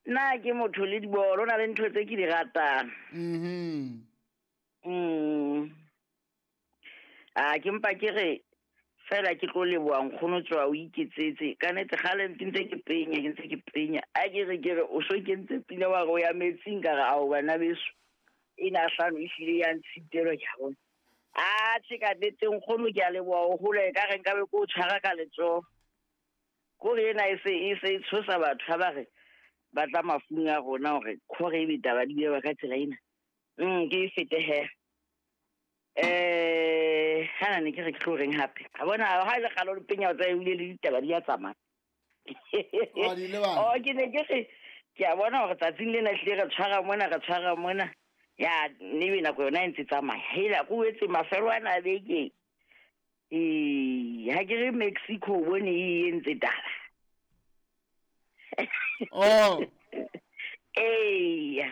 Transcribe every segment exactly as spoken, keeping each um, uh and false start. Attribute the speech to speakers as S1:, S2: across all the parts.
S1: Nna ke motho le dibolo, na le ntho tse ke di ratang.
S2: Mhm.
S1: Mm. A ke mpa ke re fela ke tlo leboha nkgono tswa o iketsetse. Ka nnete kgale ke ntse ke penya, ke ntse ke penya. A ke re ke re o so kentse pina wa re o ya metsing ka re ao bana beso. Ena hlano e hlile ya ntshitelwa ke a bona. A tjhe ka nnete nkgono ke a leboha o hole ka re nkabe ke o tshwara ka letsoho. Kore ena e se e se e tshosa batho ha ba re ba tla mafung a rona hore khore ebe taba di bua ka tsela ena. Mm ke e fete he. Eh hana ne ke re ke tlo reng hape. A bona ha ile kgalo le penya o tsa ebile le ditaba di a tsamaya.
S2: O di lebala.
S1: Oh ke ne ke re ke a bona hore tsatsing lena hlile re tshwara mona re tshwara mona. Ya ne be nako yona e ntse tsamaya. Hela ko etse mafelo ana a beke. Eh ha ke re Mexico bone e entse taba.
S2: Oh.
S1: Eh.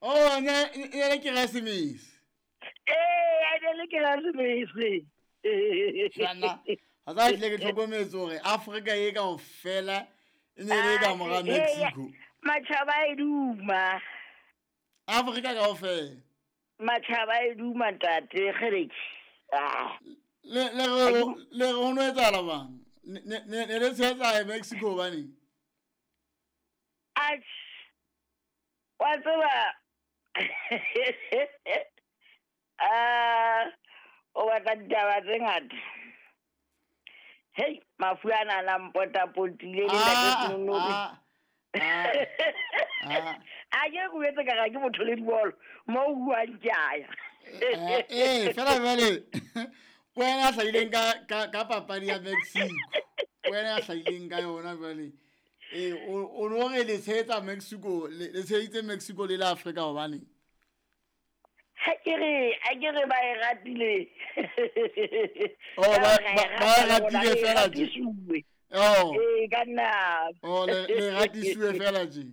S2: Oh, ne ne le Keresemese.
S1: Eh, a ne le Keresemese.
S2: Jana, ha tsa tle ke tlhokometse hore Afrika e kaofela e ne le ka mora Mexico.
S1: Matjhaba e duma.
S2: Afrika kaofela.
S1: Matjhaba e duma ntate kgereke. Ah.
S2: Le le le re no etsahala bang? Ne ne ne le tshetsa Mexico bane.
S1: Ach. Wa tseba ah o batla ditaba tse ngata. Hei, mafu ana a mpotapotile le ntate Senonobi. A ke go etse ka ga ke motho le dibolo mo o buang ke a ya.
S2: Eh, fela jwale wena a hlahileng ka ka ka papadi ya Mexico. Wena a hlahileng ka yona jwale. Eh, o no re le tshehetsa Mexico, le tsheheditse Mexico le la Afrika hobane.
S1: Ha ke re, a ke re ba e ratile.
S2: Oh, ba ba e ratile fela tje. Oh.
S1: Eh, ka nna.
S2: Oh, le le ratisiwe fela tje.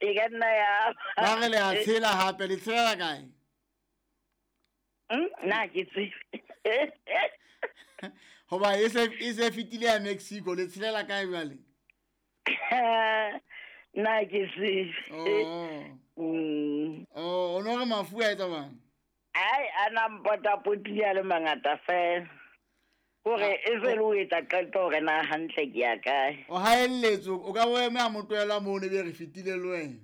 S1: E ka nna ya.
S2: Ba re le a tshela hape, le tshela kae?
S1: Mm, nna ke tsebe.
S2: Hoba e se e se fetile ya Mexico, le tshelela kae jwale?
S1: Nna ke tsebe.
S2: Oh.
S1: Mm.
S2: Oh, o no re mafu a etsa bang?
S1: Ai, a na mpotapotile a le mangata fela. Hore e se le o etsa qeto hore na hantle ke ya kae.
S2: O haelletse, o ka bo eme a mo tlohela moo ne be re fetile le wena.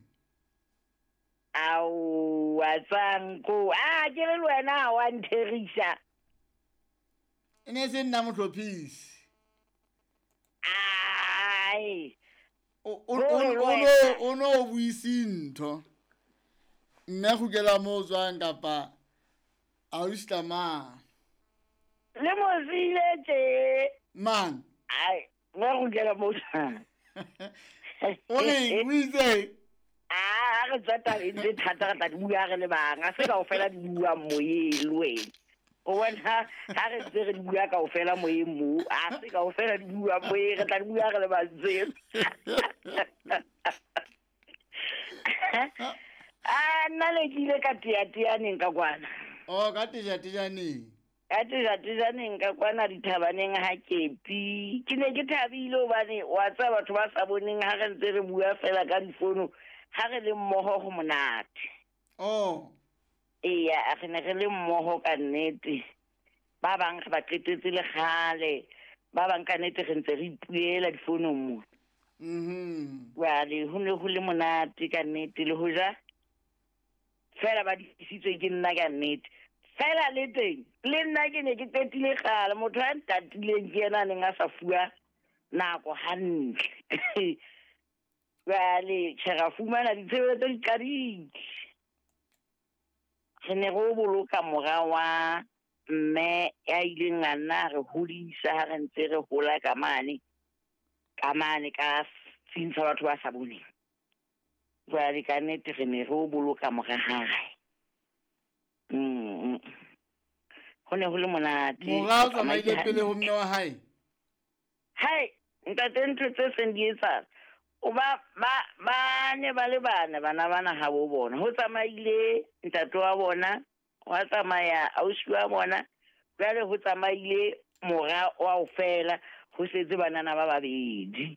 S1: Ao, wa tsanko. Ah, ke le wena wa ntherisa.
S2: E ne se nna mohlophisi.
S1: Ai.
S2: O o o o no buise ntho. Mme kgutlela moo o tswang kapa a o isla mang?
S1: Le mozile tje.
S2: Mang?
S1: Ai, mme kgutlela moo tswang.
S2: O reng, o itse?
S1: Ah, re tswa tabeng tse thata re tla di bua re le bang. Ha se kaofela di buang moyeng le wena. O bona ha re ntse re di bua kaofela moyeng moo. Ha se kaofela di buang moyeng, re tla di bua re le bang tseo. Ah, nna le ke ile ka teateaneng ka kwana.
S2: Oh, ka tejatejaneng.
S1: Ka tejatejaneng ka kwana dithabaneng ha kepi. Ke ne ke thabile hobane wa tseba batho ba sa boneng ha re ntse re bua fela ka difono, ha re le mmoho ho monate.
S2: Oh.
S1: Eya, re ne re le mmoho ka nnete. Ba bang re ba qetetse le kgale. Ba bang ka nnete re ntse re ipuela difonong mo.
S2: Mhm.
S1: Jwale ho ne ho le monate ka nnete le hoja fela ba disitswe ke nna ka nnete. Fela le teng, le nna ke ne ke qetile kgale, motho a ntatileng ke yena a neng a sa fuwa nako hantle. Jwale tjhe ra fumana ditshebeletso di qadile. Re ne re o boloka mora wa mme ya ileng a nna re hodisa ha re ntse re hola ka mane, ka mane ka setsing sa batho ba sa boneng. Jwale ka nnete re ne re o boloka mora hae. Mm. Ho ne ho le monate.
S2: Mora o tsamaile pele ho mme wa hae?
S1: Hai, ntate ntho tse seng di etsahala. O ba, ba, ba ne ba le bana, bana bana ha bo bona. Ho tsamaile ntate wa bona, wa tsamaya ausi wa bona, jwale ho tsamaile mora wa ofela, ho setse banana ba babedi.